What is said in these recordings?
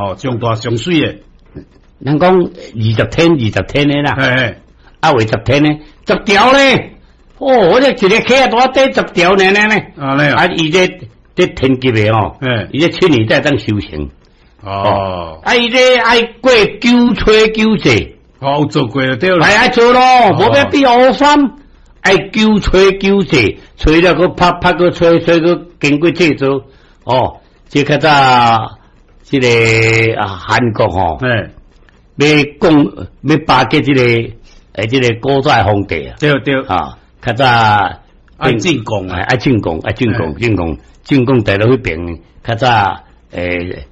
吼，上大上媠的。人講20天20天的啦，啊，話十天呢，十條咧，哦，我這一个客大短十條呢呢呢，啊，伊這天級的哦，伊這7年才當修成。啊，伊這愛過九吹九節。哦，有做過就對啦。係愛做咯，無欲變烏衫，愛九吹九節，吹了閣拍拍閣吹，吹閣經過製造。哦，這較早這个啊韓國吼，欲講欲巴結這个古早皇帝啊，啊，較早愛進貢啊，愛進貢，愛進貢，進貢，進貢帶到彼邊，較早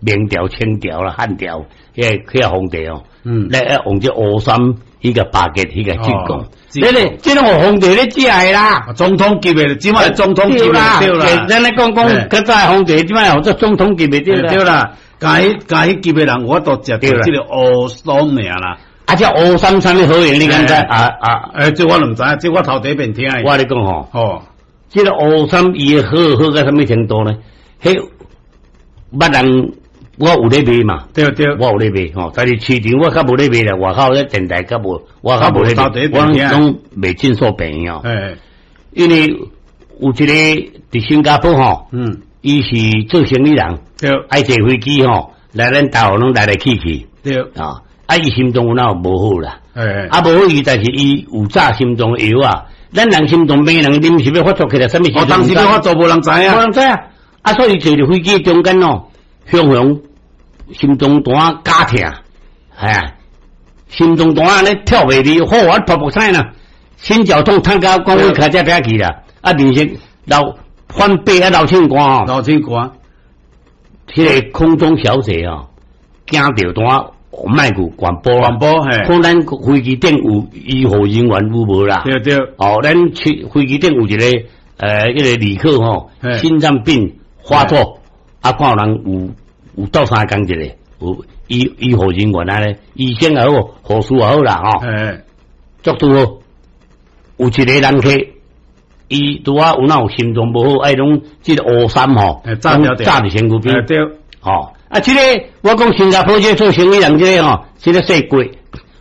明朝、清朝啦、漢朝，彼个皇帝哦，來用這烏衫彼个巴結，彼个進貢，這个這攏皇帝咧食的啦，總統級的，這擺總統級的對啦。咱咧講講較早皇帝，這擺號做總統級的對啦。對啦，共彼級的人，我都食著這个烏衫爾啦。啊，這烏衫啥物好用？你敢知？啊啊！這我毋知，這我頭第一遍聽的。我咧講吼，這个烏衫伊的好好到啥物程度呢？彼捌人我有咧賣嘛？對對，我有咧賣吼，但是市場我較無咧賣啦，外口咧電台較無，我較無咧賣，我攏賣診所病院哦。因為有一个佇新加坡吼，伊是做生意人，愛坐飛機吼，來咱台灣攏來來去去，啊，啊，伊心臟有哪有無好啦？啊，無好伊，但是伊有炸心臟藥啊。咱人心臟病人臨時欲發作起來，啥物時？哦，當時欲發作無人知影，無人知啊。啊，所以坐佇飛機中間哦，雄雄心臟單加疼，係啊，心臟單按呢跳袂離，好啊，噗噗聲啦，心絞痛，痛到講我開這邊去啦，啊，面色流翻白啊，流清汗哦，流清汗，彼个空中小姐哦，驚著單麥克廣播，廣播嘿，看咱飛機頂有醫護人員有無啦？對對，哦，咱去飛機頂有一个彼个旅客吼，心臟病發作，啊，看有人有鬥相共一个，有醫護人員按呢，醫生也好，護士也好啦吼，足拄好，有一個人客，伊拄仔有哪有心臟無好，愛攏這个烏衫吼，紮佇身軀邊，對，吼，啊，這个我講新加坡這个做生意人這个吼，這个細過，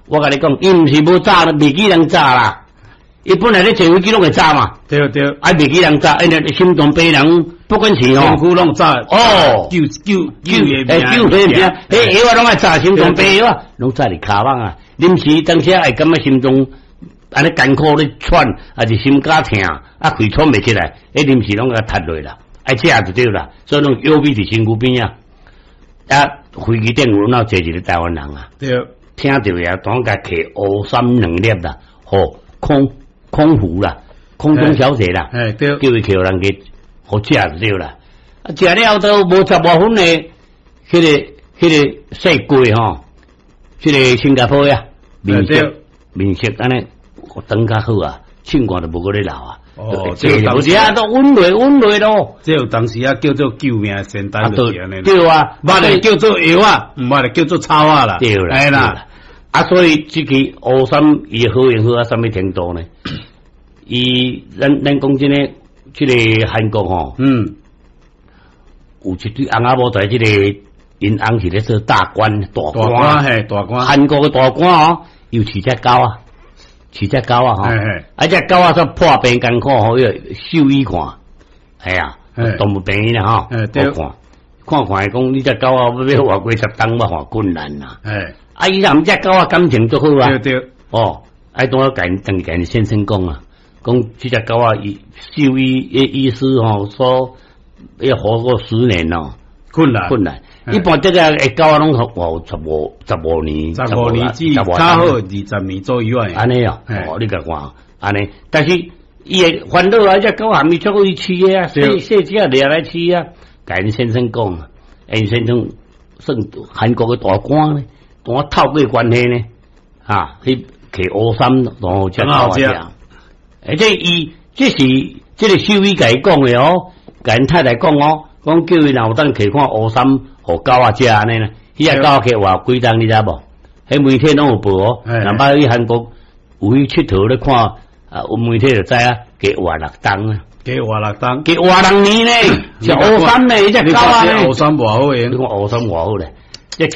我共你講，伊毋是無紮，袂記人紮啦。伊本來咧坐飛機攏會紮嘛，對對，啊袂記人紮，因為心臟病人不管是吼，身軀攏紮，哦，救救救的命，救的命，彼藥仔攏愛紮心臟病藥仔，攏紮佇跤蠓啊。臨時當時會感覺心臟按呢艱苦咧喘，抑是心絞疼，啊氣喘袂起來，彼臨時攏共踢落啦，愛食就對啦，所以攏藥味佇身軀邊啊。啊，飛機頂有哪坐一个台灣人啊？對，聽著也當共揢烏衫兩粒啦，予空服啦，空中小姐啦，對，叫伊揢人去予食就對啦。啊，食了都無十外分的，彼个細過吼，這个新加坡呀，面色面色按呢轉較好啊，唱歌就無閣咧流啊。哦，這個無啊，都穩落穩落咯。這有當時啊，叫做救命仙丹就是按呢。對啊，捌的叫做藥啊，毋捌的叫做草仔啦。對啦，哎啦。啊，所以這个烏衫伊好用好啊，啥物程度呢？伊咱講真的，這个韓國吼，有一對翁仔某在這个𪜶翁是咧做大官大官嘿，大官。韓國的大官哦，又飼隻狗啊，飼隻狗啊吼，啊隻狗仔煞破病艱苦吼，彼個獸醫看，係啊，動物病院啦吼，看，看看伊講你隻狗仔欲活過十冬，我看困難啦。啊，伊贓隻狗仔感情足好啊，對對，哦，愛當我共共先生講啊，講這隻狗仔伊獸醫醫師吼說要活過10年哦，困難困難。一般這個狗仔攏活15年，十五年至較好20年左右啊。按呢哦，哦，你共看按呢，但是伊會煩惱啊，這狗仔毋是足好伊飼的啊，細細隻掠來飼啊。共𪜶先生講，𪜶先生算韓國的大官呢，同我透過關係呢，啊，去摕烏衫，然後食狗仔食。而且伊這是這个獸醫共伊講的哦，共𪜶太太講哦，講叫伊若有當摕看烏衫，予狗仔食按呢啦。彼隻狗仔摕活幾冬你知無？彼媒體攏有報哦。若捌去韓國有去𨑨迌咧看，啊，有媒體就知影，加活六冬啊。加活六冬，加活6年呢，是烏衫呢，彼隻狗仔呢。烏衫偌好用，你看烏衫偌好咧。